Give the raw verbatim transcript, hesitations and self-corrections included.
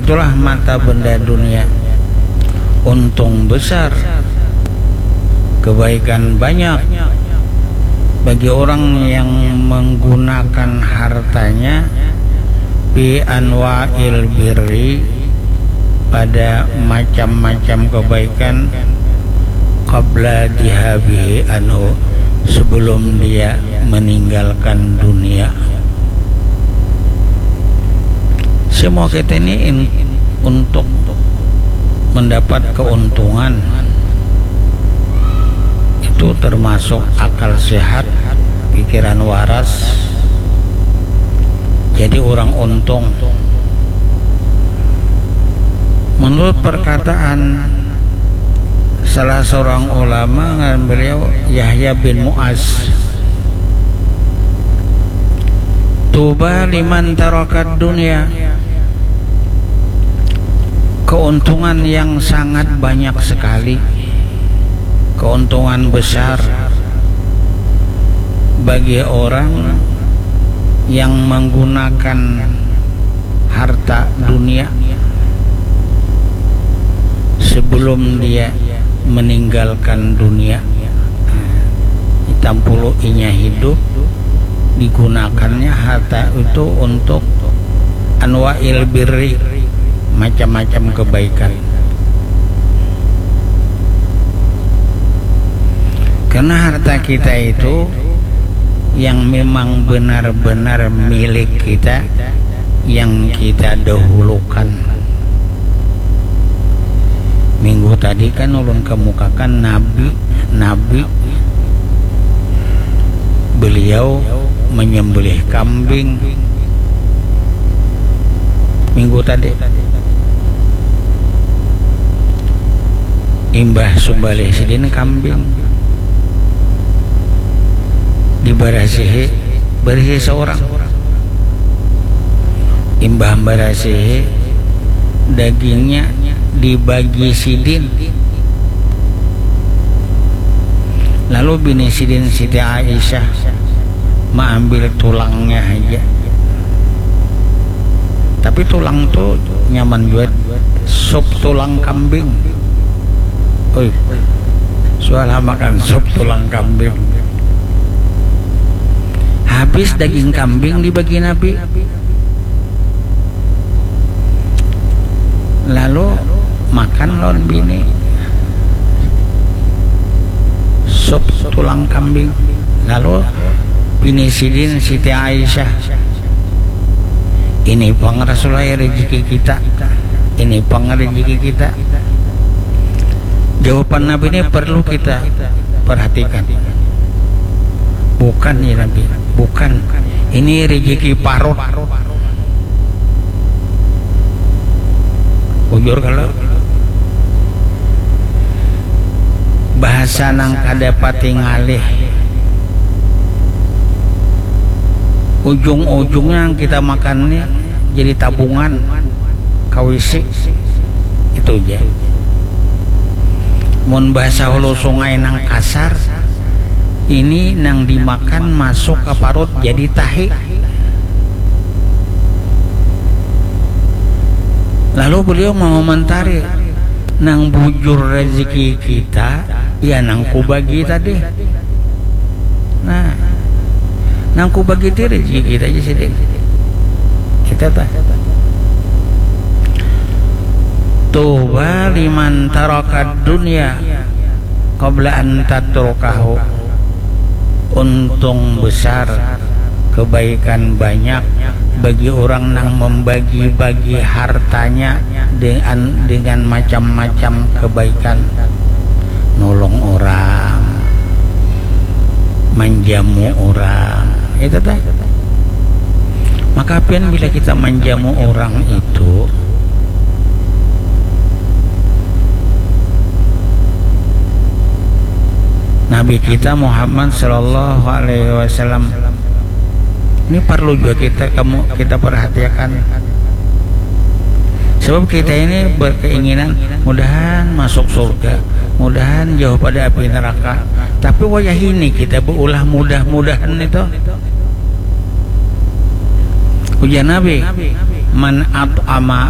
Itulah mata benda dunia. Untung besar, kebaikan banyak bagi orang yang menggunakan hartanya fi anwa'il birri, pada macam-macam kebaikan, qabla dihabihi anhu, sebelum dia meninggalkan dunia. Semua kita ini in- untuk mendapat keuntungan, itu termasuk akal sehat, pikiran waras, jadi orang untung. Menurut perkataan salah seorang ulama, ngaran beliau Yahya bin Muaz, "Tuba liman tarakad dunia." Keuntungan yang sangat banyak sekali, keuntungan besar bagi orang yang menggunakan harta dunia sebelum dia meninggalkan dunia. Tampulu inya hidup, digunakannya harta itu untuk anwa'il birri, macam-macam kebaikan. Karena harta kita itu yang memang benar-benar milik kita, yang kita dahulukan. Minggu tadi kan ulun kemukakan Nabi, Nabi beliau menyembelih kambing minggu tadi. Imbah sumbalih sidin kambing, dibarasihi, barisi seorang. Imbah barasihi, dagingnya dibagi sidin. Lalu bini sidin Siti Aisyah maambil tulangnya haja. Tapi tulang tu nyaman jua, sup tulang kambing. Oi, sualah makan sup tulang kambing. Habis daging kambing dibagi Nabi. Lalu makan lawan bini sup tulang kambing. Lalu bini sidin Siti Aisyah, "Ini pang Rasulullah rezeki kita, ini pang rezeki kita." Jawaban Nabi ini perlu kita perhatikan. Bukan ya Nabi, bukan. Ini rezeki parut. Bujur kalau bahasa nang kada pati ngalih, ujung-ujungnya yang kita makan ini jadi tabungan, kawisi, itu aja. Mun bahasa hulu sungai nang kasar, ini nang dimakan masuk ke parut jadi tahi. Lalu beliau mengomentari, nang bujur rezeki kita, ya nang kubagi tadi. Nah, nang kubagi ti rezeki kita aja sidin. Kita tah. Tuba liman tarakad dunya qabla an tatrukahu. Untung besar, kebaikan banyak bagi orang nang membagi-bagi hartanya dengan, dengan macam-macam kebaikan. Nolong orang, manjamu orang, itu tah. Maka pian bila kita manjamu orang itu, Nabi kita Muhammad sallallahu alaihi wasallam, ini perlu juga kita, kamu, kita perhatikan. Sebab kita ini berkeinginan mudahan masuk surga, mudahan jauh pada api neraka. Tapi wayah ini kita beulah mudah-mudahan itu. Ujar Nabi, "Man at'ama